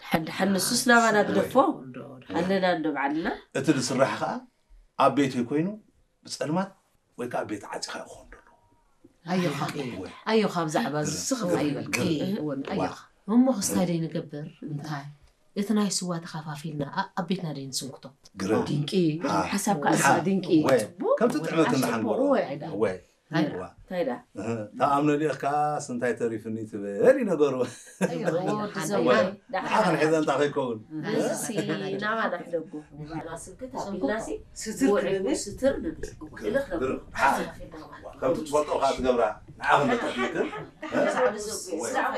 ሓንድሓን ንሱስ ናባና ግደፎ። ኣለና እንዶ ባዕልና። እቲ ዝስራሕ ከዓ ኣብ ቤተይ ኮይኑ ብፀልማት ወይ ከዓ ቤት ዓፂኻ ክኾን ደሎ። ኣዮኻ ኣዮኻ ብዛዕባ እዚ ስኽፍ ኣይበልኪ። እውን ኣዮኻ። እሞ ክስታይ ደይ ንገብር? እንታይ? እቲ ናይ ስዋ ተኸፋፊልና ኣ- ኣብ ቤትና ደይ ንስንክቶ? ግረድ ድንቂ። ሓሳብ ከዓ ሓ- ድንቂ። ወይ ጽቡቅ። ከምቲ ጥዕመት እናሓንጎ ወይ ኣይዳ። ወይ ኣይዳ። ዋ እንታይ ዳ? እህ፣ ተኣምነሉ ኢኻ ስንታይ ተሪፍኒ ትበል ይነገሩ። ወዲ ወይ ዘወይ። ንዓኽን ሒዘ እንታይ ከይከውን? እዚ ናባና ሕደጉ። ናባና ስንክት ኣቢልናሲ ስትር ወዒ ክብል ስትር ንብል። እልኽ ነብሎ። ግርም። ሓ- ከምቲ ትፈልጦ ከዓ ትገብራ ንዓኽን ነተሪፍክን። ብዛዕባ ዘጉ። ብዛዕባ